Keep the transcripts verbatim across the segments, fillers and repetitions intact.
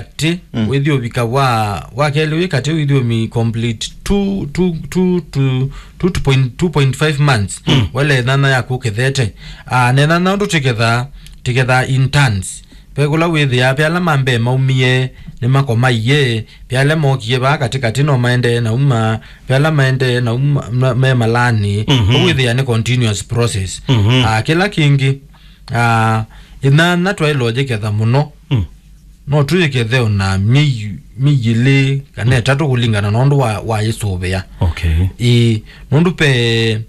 katĩ, mm, wĩthi ũvika wa, wa kelĩ wĩ katĩ, wĩthi ũmi complete two, two, two, two, two point, two point five months. Mm. Wele nana yaku ũkethete. Ah, nena na ũndũ tĩketha, tĩketha in turns. Ve kũla wĩthĩaa, ve ala ma mbee maumie, nĩmakomaie, ve ala mokie vaa katĩkatĩ no maendee na uma, ve ala maendee na uma, ma-, me malani. Mhm. Ũu wĩthĩa nĩ continuous process. Mhm. Ah, kĩla kĩngĩ, ah, ĩnana twaĩlwe ũyĩketha mũno. Mm. No tũyĩkethe ona myei, myei ĩlĩ kana ĩtatũ kũlingana na ũndũ wa, wa yĩsũvĩa. Okay. Ĩĩ, nũndũ pe,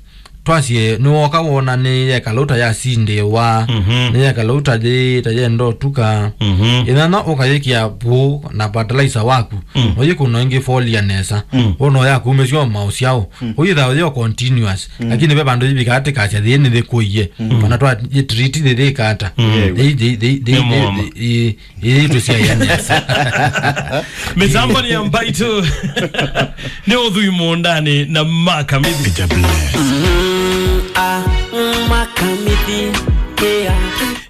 twasie, nĩwoka wona nĩ yekala ũta yasindĩwa, mhm, nĩ yekala ũta yĩ, ta yenda ũtuka. Mhm. Ĩnana ũkayĩkĩa vũũ na fertilizer waku, mm, no yĩkũna ĩngĩ folia nesa. Mm. Wona yakumĩsya o maũsyaũ. Mm. Ũyĩthawa yo continuous. Mm. Lakini ve vandũ yĩvika atĩ kasya thĩĩ nĩthĩkũie. Mm. Ona twa yĩ treat thĩthĩkata. Mm. Thĩ, thĩ, thĩ, thĩ, nĩ thĩ, mũomo. Thĩ, ĩ, Ĩĩ, tũsiaianĩasa. Mĩtambo nĩ ya mbaitũ. Nĩ ũthui mũũndanĩ na Makamithi. It's a bless. Mm, ah, mm, Makamithi, yeah.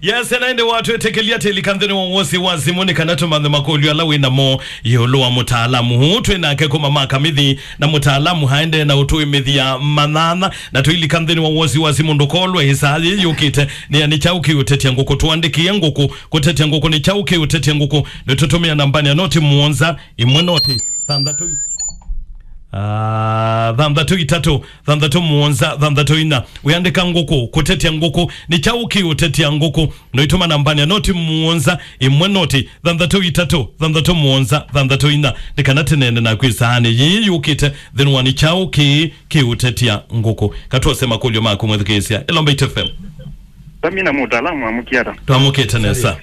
Yes, na ĩndĩ watwĩtĩkĩlia tĩlika nthĩnĩ wa wosi wa simũ nĩ kana tũmanthe makũlyo ala wĩ namo ĩũlũ wa mũtaalamu. Huu twĩ nake kuma Makamithi, na mũtaalamu haendee na ũtũĩmĩthya manana, na tũilika nthĩnĩ wa wosi wa simũ ndũkolwe ĩsaa yĩ yũkĩte. Nĩ ya nĩ kyaũ kĩũtetya ngũkũ? Tũandĩkĩe ngũkũ. Kũtetya ngũkũ nĩ kyaũ kĩũtetya ngũkũ? Nĩtũtũmĩa nambanĩ ya noti mũonza, ĩmwe noti, thanthatũ i-, ah, thanthatũ itatũ, thanthatũ mũonza, thanthatũ ina. Wĩandĩka ngũkũ, kũtetya ngũkũ nĩ kyaũ kĩũtetya ngũkũ? Noitũma nambanĩ ya noti mũonza, ĩmwe noti, thanthatũ itatũ, thanthatũ mũonza, thanthatũ ina. Nĩ kana tĩneene naku ĩsaanĩ yĩĩ yũkĩte nthĩnĩ wa nĩ kyaũ kĩĩ kĩũtetya ngũkũ. Katwose makũlyo maku mwĩthukĩĩsya. Ĩlomba Itũ F M. Sami na mũtaalamu amũkie ata? Twamũkĩte nesa.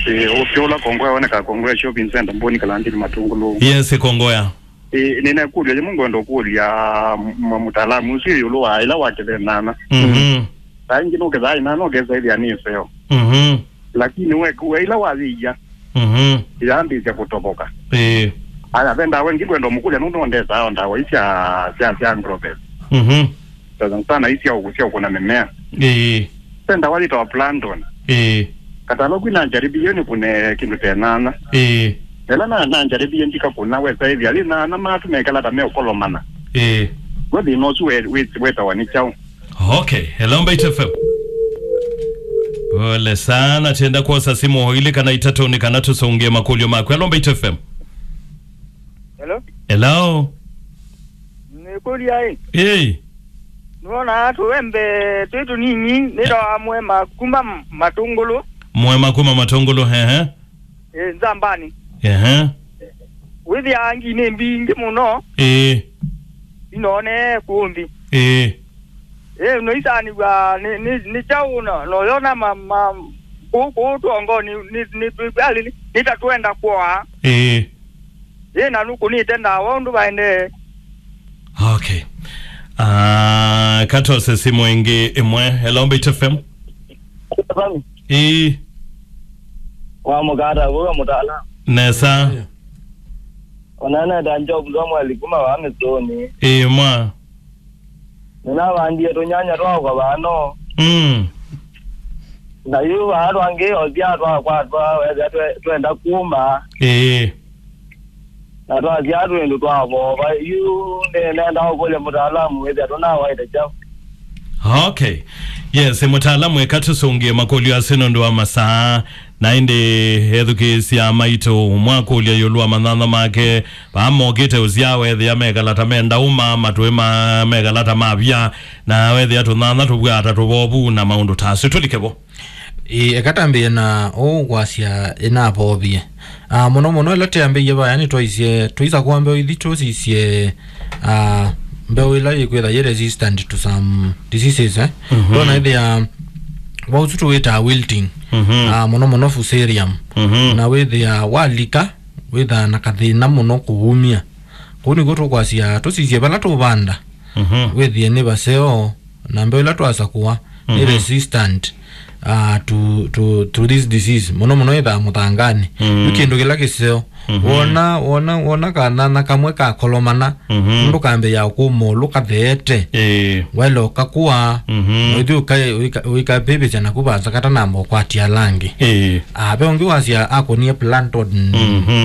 Eh, ũkĩũla Kongoya woneka Kongoya Shopping Center, Mboni, Kalandini, Matungulu. Yes, Kongoya. Eh, nĩna kũlya yĩmwe ngwenda kũlya m-, mũtaalamu ũsu ĩũlũ wa ĩla wakethe nana. Mhm. Saa ingĩ nũkethaa ĩnana ũkesa ĩthĩa nĩ ĩseo. Mhm. Lakini we, we ĩla wayĩia, mhm, yambĩĩsya kũtovoka. Ĩĩ. Aya, ve ndawa ĩngĩ ngwenda ũmũkũlya nũndũ ndesaa o ndawa ii sya, sya, sya agrovet. Mhm. Sana sana ii sya ũkũ-, sya ũkũna mĩmea. Ĩĩ. Ve ndawa yĩtawa Planton. Ĩĩ. Katalo kwina njaribie nĩkũne kĩndũ ta ĩnana. Ĩĩ. Ĩla na, na njaribie ndikakũna wesa ĩthĩa yĩ nana matu mekala ta meũkolomana. Ĩĩ. We thĩna ũsu we, we, wetawa nĩ kyaũ? Okay, hello, Mbaitu F M. Pole sana, tenda kwosa simu o ilĩ kana itatũ nĩ kana tũsũngĩe makũlyo maku. Hello, Mbaitu F M. Hello? Hello? Nĩkũlya ĩ? Ĩĩ. Nĩwona tũwembe twĩ tũnini, nĩtawa Mwema kuma Matũngũlũ. Mwema kuma Matũngũlũ, hehe. Ĩ, Nzambani. Ehe. Wĩthĩaa ngi nĩ mbingĩ mũno. Ĩĩ. Inoone kũũ nthĩ. Ĩĩ. Ĩ, noisanĩw'a nĩ, nĩ, nĩ kyaũ no, noyona ma, ma, kũũ, kũũ twongo nĩ, nĩ, nĩ, nĩ, nĩ, nĩ ta twenda kwoa. Ĩĩ. Ĩ, na nũkũnĩte ndawa ũndũ vaendee. Okay. Ah, katose simu ĩngĩ ĩmwe. Hello, Mbaitu F M. Sami. Ĩĩ. Wa mũkata, wewe mũtaalamu. Nesa. Onana ta Job Samuel kuma wa Misoni. Ĩĩ, mwa. Nĩnavandie tũnyanya twakwa vano. Mm. Na yu vaa twangĩ osya twakwatwa, wethĩa twe-, twenda kuma. Ĩĩ. Na twasya twĩndũ twavova. Yu nĩ-, nenda ũkũlya mũtaalamu wĩthĩa tũnawaĩte kyaũ. Okay. Yes, mũtaalamu, eka tũsũngĩe makũlyo asu nũndũ wa masaa. Na ĩndĩ ethukĩĩsya maitũ mwakũlya ĩũlũ wa manyanya make, vaa mokĩte ũsyaa wethĩa mekala ta me ndauma, matũĩ ma-, mekala ta mavya, na wethĩa tũnyanya tũvw'aa ta tũvovu na maũndũ ta asu. Tũlike vo. Ĩ, eka tambĩĩe na ũũ kwasya ĩnavovie. Ah, mũno mũno ĩla tĩambĩie vaya nĩtwaisye, twaisa kũa mbeũ ithi tũsisye, ah, mbeũ ĩla yĩkwĩtha yĩ resistant to some diseases, eh? Mhm. Ndona ĩthĩa vau tu tũwĩtaa wilting. Mhm. Ah, mũno mũno fusarium. Mhm. Na wĩthĩa walika, wĩthaa na kathĩna mũno kũumya. Kũu nĩkw'o tũkwasya tũsisye vala tũvanda. Mhm. Wĩthĩe nĩ vaseo, na mbeũ ĩla twasakũa nĩ, mhm, resistant. uh, to, to, to this disease, mũno mũno ĩthaa mũthangani. Mm. Yu kĩndũ kĩla kĩseo. Mhm. Wona, wona, wona kanana kamwe kakolomana, mhm, ndũkambĩĩa kũmũlũ katheete. Ĩĩ. Welo kakua, mhm, noithi ũikapĩvĩsya naku vanza katanamba ũkwatia langi. Ĩĩ. Ah, ve ũngĩ wasya akonie planton. Mhm.